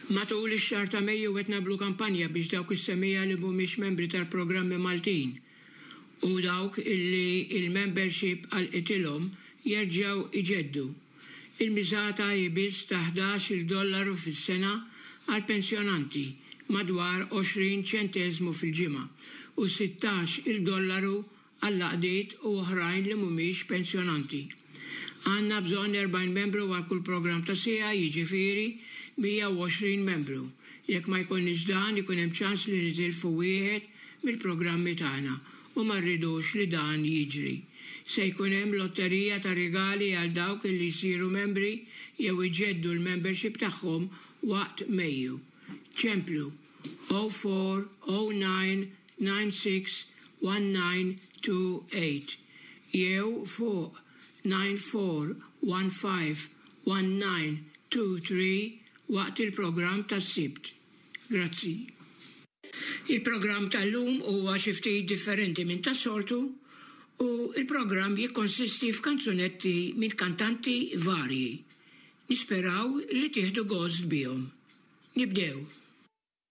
Matul ix-xahar ta' Mejju qed nagħmlu kampanja biex dawk is-semmiegħa li mhumiex membri tal-programmi Maltin u dawk illi l-membership għalqitilhom jerġgħu iġeddu. Il-miżata hi biss ta' 11-il dollaru fis-sena għall-pensjonanti, madwar 20 ċenteżmu fil-ġimgħa, u 16 il dollaru għall-għaqdiet u oħrajn li mhumiex pensjonanti. Għandna bżonn 40 membru għal kull programm ta' siegħa, jiġifieri 120 membru. Jekk ma jkollniex dan, ikun hemm ċans li nitilfu wieħed mill-programmi tagħna u ma rridux li dan jiġri. Se jkun hemm lotterija ta' rigali għal dawk li jsiru membri jew iġeddu l-membership tagħhom waqt Mejju. Ċemplu 0409 961928 jew fuq 94151923 waqt il-programm tas-Sibt. Grazzi. Il-programm tal-lum huwa xi ftit differenti minn tas-soltu u l-programm jikkonsisti f'kanzunetti minn kantanti varji. Nisperaw li tieħdu gost bihom. Nibdew!